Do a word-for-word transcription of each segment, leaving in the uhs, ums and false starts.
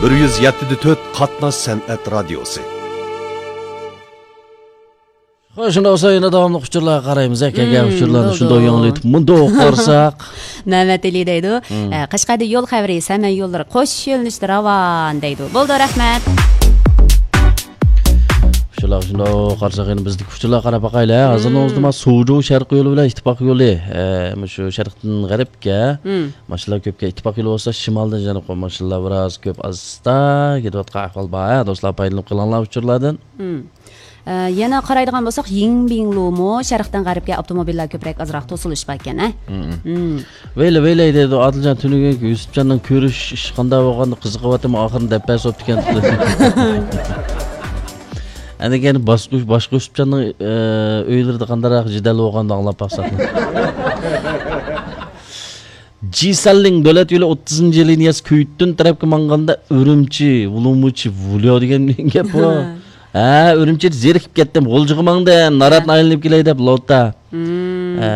بىر يۈز يەتتە دە تۆت قاتناش سەنئەت رادىيوسى. خوش، شۇنداق بولسا يەنە داۋاملىق ئۇچۇرلارغا قارايمىز. ھە، كەلگەن ئۇچۇرلارنى شۇنداق يېڭىلىتىپ مۇنداق قارىساق. مەمەت ئېلى دەيدۇ. ئە، قەشقەردە يول خەۋىرى، سەمەن يوللىرى قوش يۆنىلىشتە راۋان دەيدۇ. بولدى، رەھمەت. ئۇچۇرلارغا شۇنداق قارىساق، يەنە بىزدىكى ئۇچۇرلارغا قاراپ باقايلى. ھازىرنىڭ ئۆزىدە مانا سۇجۇ شەرقىي يولى بىلەن ئىتتىپاق يولى، ئە، مۇشۇ شەرقتىن غەربكە ماشىنىلار كۆپكەن. ئىتتىپاق يولى بولسا شىمالدىن جەنۇبقا ماشىنىلار بىراز كۆپ، ئاستا كېتىۋاتقان ئەھۋال بار. ھە، دوستلار، پايدىلىنىپ قېلىڭلار ئۇچۇرلاردىن. ئە، يەنە قارايدىغان بولساق، يىڭبىڭلۇمۇ شەرقتىن غەربكە ئاپتوموبىللار كۆپرەك، ئازراق توسۇلۇش باركەن، ھە؟ ۋەيلە، ۋەيلە دەيدۇ، ئادىلجان تۈنۈگۈنكى يۈسۈپجاننىڭ كۆرۈش ئىشى قانداق بولغاندا قىزىقىۋاتىمەن، ئاخىرىنى دەپ بەرسە بوپتىكەن. ئەندىن كېيىن باشقا، باشقا يۈسۈپجاننىڭ، ئە، ئۆيلىرىدە قانداقراق جېدەل بولغاندا ئاڭلاپ باقساق. جىسەنلىڭ دۆلەت يولى ئوتتۇزىنچى لىنىيەسى كۈيتۈن تەرەپكە ماڭغاندا ئۈرۈمچى، ۋۇلۇڭمۇچى، ۋۇلياۋ دېگەن گەپ بۇ. ھە، ئۈرۈمچىدە زېرىكىپ كەتتىم. غۇلجىغا ماڭدىم. ناراتنى ئايلىنىپ كېلەي دەپ لوتا. ھە،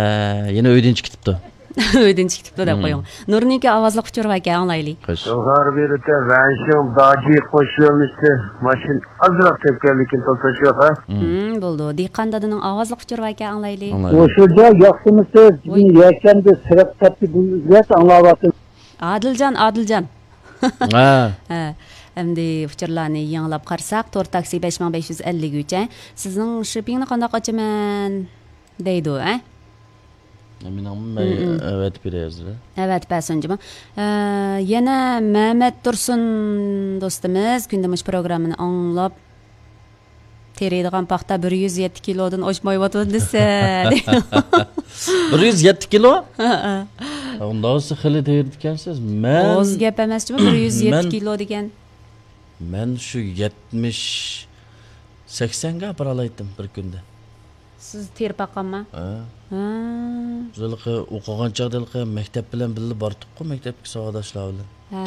يەنە ئۆيدىن چىقىپ كېتىپتۇ. ئۆيدىن چىقىپ كېتىپتۇ دەپ قويۇڭ. نۇرنىڭكى ئاۋازلىق ئۇچۇرى باركەن، ئاڭلايلى. خوش. جۇڭخۇا بىرىتە ۋەنشىڭ داجى قوش يۆنىلىشتە ماشىنا ئازراق تەپكەنلىكىنى توسۇش يوق، ھە؟ بولدى. دېھقان دادىنىڭ ئاۋازلىق ئۇچۇرى باركەن، ئاڭلايلى. ئاڭلايلى. مۇشۇ جاي ياخشىمۇسىز؟ ۋوي. يەكەندە سىرىق تەپتى بىلگەچ ئاڭلاۋاتىمەن. ئادىلجان، ئادىلجان. ھە. ھە. ئەمدى ئۇچۇرلارنى يېڭىلاپ قارىساق، تور تاكسى بەش مىڭ بەش يۈز ئەللىك ئۈچ، ھە. سىزنىڭ شىپپىڭنى قانداق ئاچىمەن؟ دەيدۇ، ھە؟ مېنىڭمۇ مەن ئەۋەتىپ بېرەي ھازىر. ئەۋەتىپ بەرسۇن جۇمۇ. ئە، يەنە مەمەت تۇرسۇن دوستىمىز كۈندە مۇشۇ پروگراممىنى ئاڭلاپ، تېرىيدىغان پاختا بىر يۈز يەتتە كىلودىن ئاشمايۋاتىدۇ دېسە. بىر يۈز يەتتە كىلو؟ ھە، ھە. ئۇنداق بولسا خېلى تېرىيدىكەنسىز. مەن، ئاز گەپ ئەمەس جۇمۇ، بىر يۈز يەتتە كىلو دېگەن. مەن شۇ يەتمىش، سەكسەنگە ئاپىرالايتتىم بىر كۈندە. سىز تېرىپ باققانما؟ ھە. ھە. بىز ھېلىقى ئوقۇغان چاغدا ھېلىقى مەكتەپ بىلەن بىللە بارتۇققۇ، مەكتەپكە ساۋاقداشلار بىلەن. ھە.